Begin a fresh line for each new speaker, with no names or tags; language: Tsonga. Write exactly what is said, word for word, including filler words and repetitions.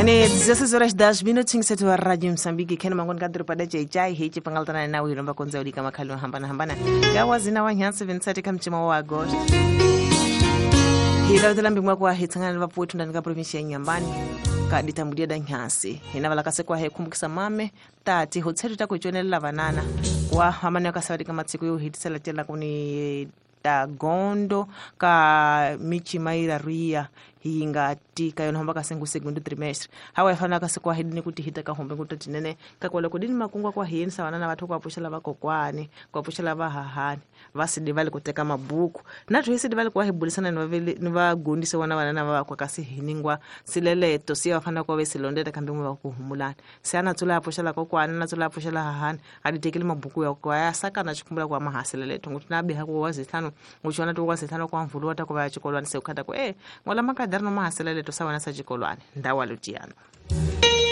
Ane dezesseis horas dez minutinhos setu wa Radio Msambiki kena mangoni kadru pada chai hichi pangaltana na wilomba konza ulika makhalu hambana hambana ya wazina wa nyansi vinte e sete kamchima wa agosto hila utela mbimwa kwa hitangana vaputu ndanika provinsia ya Nyambani kaditambulia da nyansi hina valakase kwa hekumbukisa mame tati hotsetu takuchonela vanana wa hamani akasawadika matsiku yo hitisela tela kuni ta gondo ka michimaira ria hingati ka yona hamba kasengu segundo trimestre hawa yafana kasekwa hidini kuti hita ka hombe kuti tinene kakwala kudini makungwa kwa hiyeni sawana na watu kwa pushela vakokwani kwa pushela vahahani vasidi vali kuteka mabuku na tuhisidi vali kwa hibulisana ni vagundise wana vanana vakwa kasi hiningwa sileleto siya wafana kwa vesilondeta kambi mwe vakuhumulani siana tsula pushela kokwani na tsula pushela hahani aditekele mabuku ya kwa ya saka na chikumbula kwa mahasileleto nguti nabiha kwa wazithano nguchona tu wazithano kwa mvulu wata kwa chikolwani seukata kwa eh ngola makadar no mahaselele to sawana sa chikolwane ndawalutiano.